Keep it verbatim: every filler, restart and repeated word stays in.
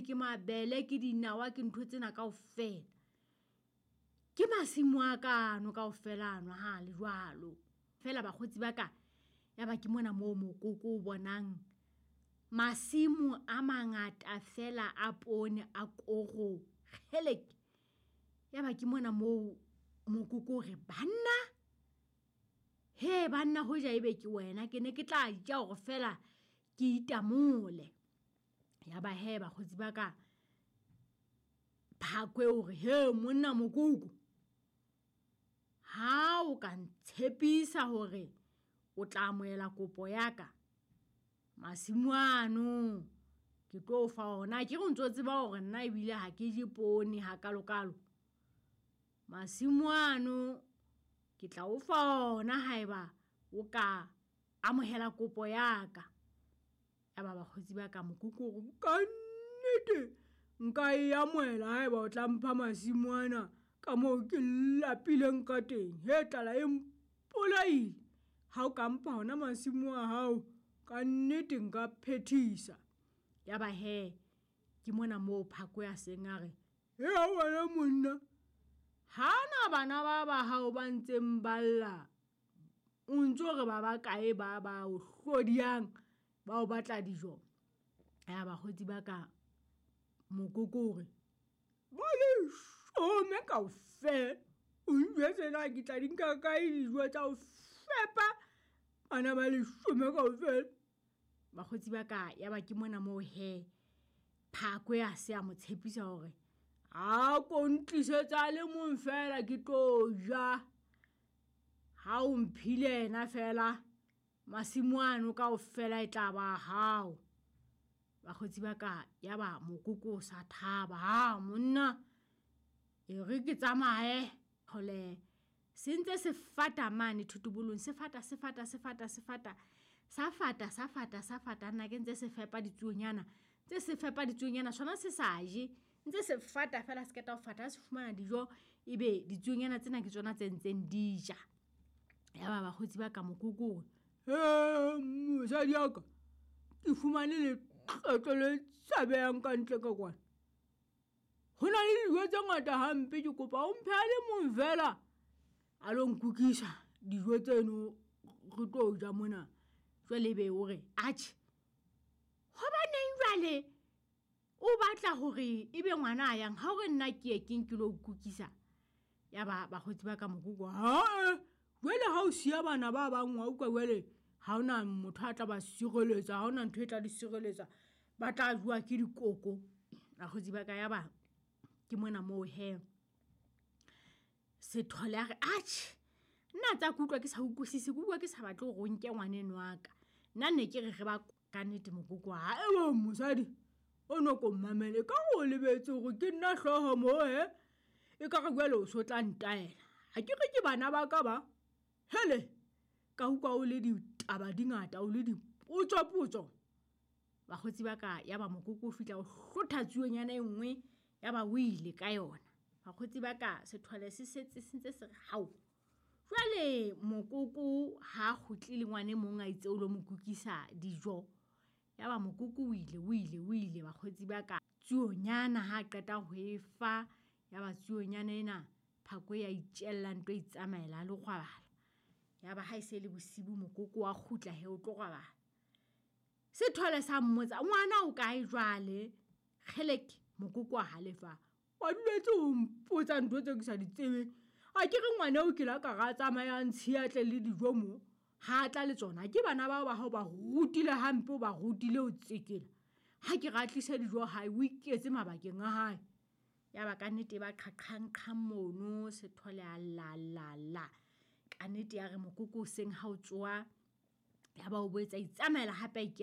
poone, ke mabele, ke dinawa, ke ntho tsena kaofela. Ke masimo a ka ano kaofela ano ha le jwalo. Feela bakgotsi ba ka, ya ba ke mona moo mokoko o bonang masimo a mangata fela a poone a koro. Kgelek! Ya ba ke mona moo mokoko o re banna, he banna hoja ebe ke wena ke ne ke tla ja hore fela ke itamole. Ya ba he bakgotsi ba ka, phakwe o re he monna mokoko, ha o ka ntshepisa hore o tla amohela kopo ya ka, masimo ano ke tlo o fa ona. Akere o ntso tseba hore nna ebile ha ke je poone hakalokalo. Masimo ano ke tla o fa ona haeba o ka amohela kopo ya ka. Ya ba bakgotsi ba ka mokoko o re ka nnete nka e amohela haeba o tla mpha masimo ana ka moo ke lapileng ka teng. He tlala e mpolaile, ha o ka mpha ona masimo a hao ka nnete nka phethisa. Ya ba he ke mona moo phako ya seng a re, he wena monna, ha na bana ba ba hao ba ntseng ba lla, o ntso re ba bakae ba ba o hlodiyang ba o batla dijo. Ya bakgotsi ba ka, mokoko o re ba leshome kaofela, o njwetse na ke tla di nka kae dijo tsa ho fepa bana ba leshome kaofela. Bakgotsi ba ka, ya ba ke mona moo he phako ya se a mo tshepisa hore a ko ntlisetsa le mong fela ke tlo ja. Ha o mphile yena fela, masimo ano kaofela e tla ba hao. Bakgotsi ba ka, ya ba mokoko o sa thaba, ha monna e re ke tsamaye. Hole se ntse se fata mane thotobolong, se fata, se fata, se fata, se fata, sa fata, sa fata, sa fata. Nna ke ntse se fepa ditsuonyana, ntse se fepa ditsuonyana, sona se sa je, ntse se fata fela, se qeta ho fata, ha se fumana dijo ebe ditsuonyana tsena ke tsona tse ntseng di ja. Ya ba bakgotsi ba ka mokoko o re, he mosadi ya ka, ke fumane letlotlo le tshabehang ka ntle ka kwana. Ho na le dijo tse ngata hampe, ke kopa o mphe a le mong fela a lo nkukisa dijo tseno re tlo ja mona. Jwale ebe o re atjhe, hobaneng jwale o batla hore ebe ngwana a yang, ha o re nna ke ye ke nke lo kukisa. Ya ba bakgotsi ba ka mokoko, ha jwale ha o siya bana ba bang wa utlwa jwale ha hona motho a tla ba sireletsa, ha hona ntho e tla di sireletsa, ba tla jowa ke dikoko. Bakgotsi ba ka, ya ba ke mona moo he Sethole a re atjhe, nna tsa ke utlwa ke sa utlwisise, ke utlwa ke sa batle hore o nke ngwaneno wa ka. Nna ne ke re re ba ka nnete mokoko ha ewe mosadi o no ko mmamele, ka o lebetse hore ke nna hlooho moo he, e ka re jwale o so tla ntaela. Ha ke re ke bana ba ka ba hele, ka utlwa o le ditaba di ngata, o le dipotsopotso. Bakgotsi ba ka, ya ba mokoko o fihla o hlotha tsuonyana e nngwe, ya ba o ile ka yona. Bakgotsi ba ka, Sethole se setse se ntse se re hao. Jwale mokoko ha kgutle le ngwana e mong a itse o lo mo kukisa dijo. Ya ba mokoko o ile, o ile, o ile bakgotsi ba ka. Tsuonyana ha qeta ho e fa, ya ba tsuonyana ena phako ya itjella ntho e itsamaela a lo robala. Ya ba ha e se le bosibu mokoko wa kgutla he o tlo robala. Sethole sa mmotsa, ngwana o kae jwale? Kgeleke, mokoko wa halefa. Wa duletse ho mpotsa ntho tse ke sa di tsebeng. A ke re ngwana o ke la ka ra tsamaya a ntshiya tle le dijo mo, ha tla le tsona. Ke bana bao ba hao ba rutile hampe, o ba rutile ho tsekela. Ha ke ra tlisa dijo hae, o iketse mabakeng a hae. Ya ba ka nnete ba qhaqhang-qhang mono, Sethole a la la la. Ka nnete ya re mokoko o seng ha o tsoha, ya ba o boetse a itsamaela hape a ikela